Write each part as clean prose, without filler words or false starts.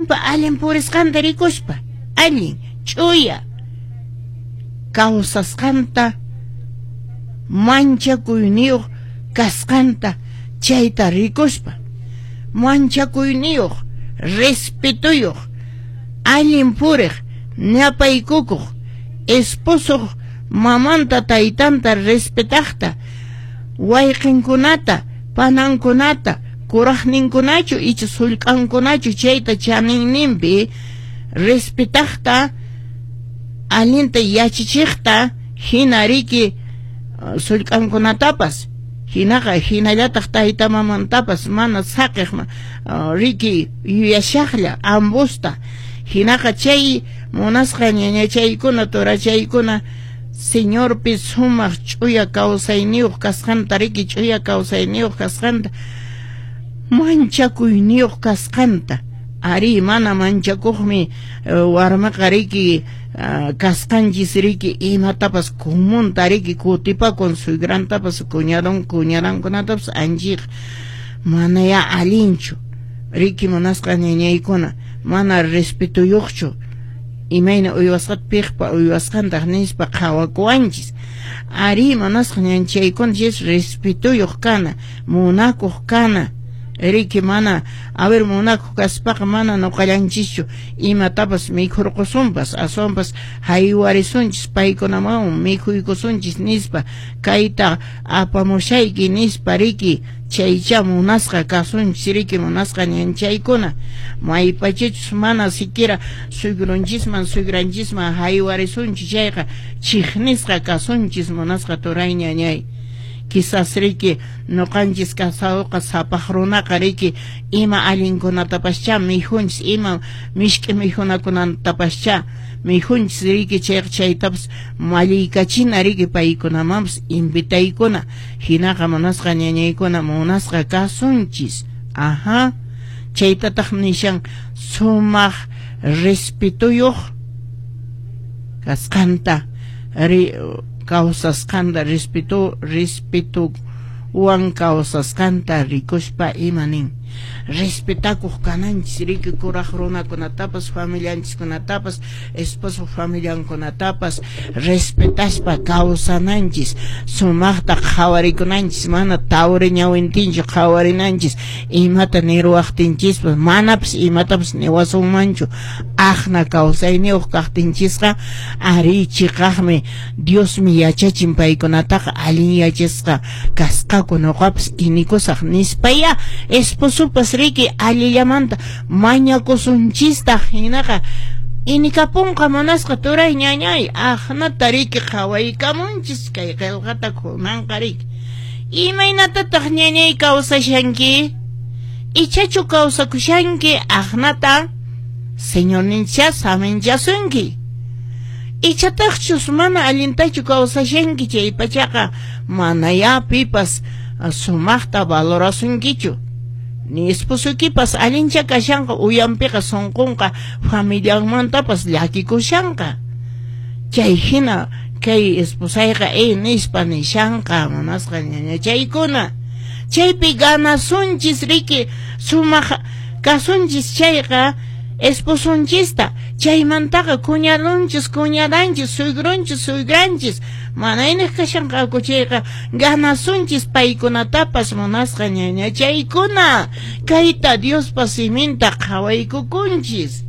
Warminpa allin purisqanta rikuspa, allin, ch'uya kawsasqanta, manchakuyniyuq kasqanta chayta rikuspa, manchakuyniyuq, respetoyuq, allin puriq, ñapaykukuq, esposoq mamanta taytanta respetaqta, wayqinkunata, panankunata, kuraqninkunachu icha sullk'ankunachu chayta chaninninpi respetaqta, allinta yachachiqta, hina riki sullk'ankunatapas, hinaqa hinallataq tayta mamantapas mana saqiq riki yuyashaqlla ambusta, hinaqa chay munasqa ñañachaykuna turachaykuna Señorpi sumaq ch'uya kawsayniyuq kasqanta riki ch'uya kawsayniyuq kasqanta, manchakuyniyuq kasqanta. Ari mana manchakuqmi warmiqa riki kasqanchis riki imatapas comunta riki kutipakun suegrantapas cuñadon cuñadankunatapas anchiq manaya allinchu riki munasqa ñañaykuna mana respetoyuqchu imayna uywasqata piqpa uywasqantaq nispa qhawakuwanchis. Ari munasqa ñanchaykuna chis respetoyuq kana, munakuq kana, riki mana a ver munakuq kaspaqa mana nuqallanchischu imatapas mikhurqusunpas aswanpas haywarisunchis paykunaman mikhuykusunchis nispa kayta apamushayki nispa riki chaycha munasqa kasunchis riki munasqa ñanchaykuna maypachachus mana siquiera suegrunchisman suegranchisman haywarisunchis chayqa chiqnisqa kasunchis munasqa turay ñañay. Quizás riki nuqanchis casadoqa sapaq runaqa riki ima allinkunatapaschá mikhunchis ima mishk'i mikhunakunatapaschá mikhunchis riki chayqa chaytapas malliykachina riki paykunamanpas invitaykuna hinaqa munasqa ñañaykuna munasqa kasunchis. Ajá, chaytataq nishan sumaq respetoyuq kasqanta kawsasqanta respeto kawsasqanta rikuspa ima nin respetakuq kananchis riki kuraq runakunatapas familianchiskunatapas esposo familiankunatapas respetaspa kawsananchis sumaqta qhawarikunanchis mana tawri ñawintinchu qhawarinanchis imata niruwaqtinchispas manapas imatapas niwasunmanchu aqna kawsayniyuq kaqtinchisqa ari chiqaqmi Diosmi yachachin paykunataqa allin yachasqa kasqaku nuqapas inikusaq nispaya esposopas riki allillamanta mañakusunchistaq hinaqa inikapunqa munasqa turay ñañay aqnata riki qhawaykamunchis kay qillqata kunanqa riki imaynatataq ñañay kawsashanki ichachu kawsakushanki aqnata Señorninchá saminchasunki ichataqchus mana allintachu kawsashanki chay pachaqa manayá pipas sumaqta valorasunkichu ni esposoykipas allincha kashanqa uyanpiqa sunqunqa familianmantapas llakikushanqa chay hina kay esposayqa nispa nishanqa munasqa ñañachaykuna chaypi ganasunchis riki sumaq kasunchis chayqa esposonchista chaymantaqa cuñadonchis cuñadanchis suegronchis suegranchis mana iniq kashanqaku chayqa ganasunchis paykunatapas munasqa ñañachaykuna kayta Diospa siminta qhawaykukunchis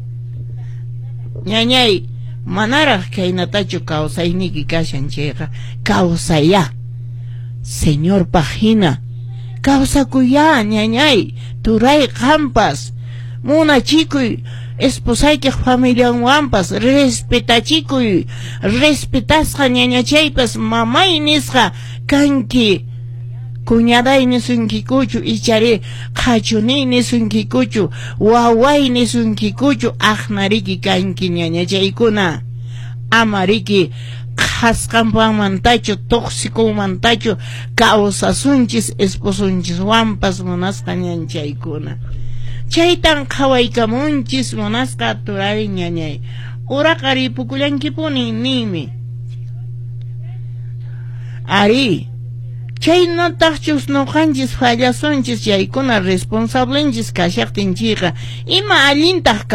ñañay manaraq kaynatachu kawsayniyki kashan chayqa kawsayá Señorpaq hina kawsakuyá ñañay turay qampas munachikuy esposaykiq familianwanpas respetachikuy respetasqa ñañachaypas mamay nisqa kanki cuñaday nisunkikuchu ichari qhachuni nisunkikuchu waway nisunkikuchu aqnariki kanki ñañachaykuna ama riki qhasqanpamantachu tuqsikunmantachu kawsasunchis esposonchiswanpas munasqa ñanchaykuna chaytan qhawaykamunchis munasqa turay ñañay uraqa ripukullankipuni ninmi ari chaynataqchus nuqanchis fallasunchis chaykuna responsablenchis kashaqtinchikqa ima allintaq.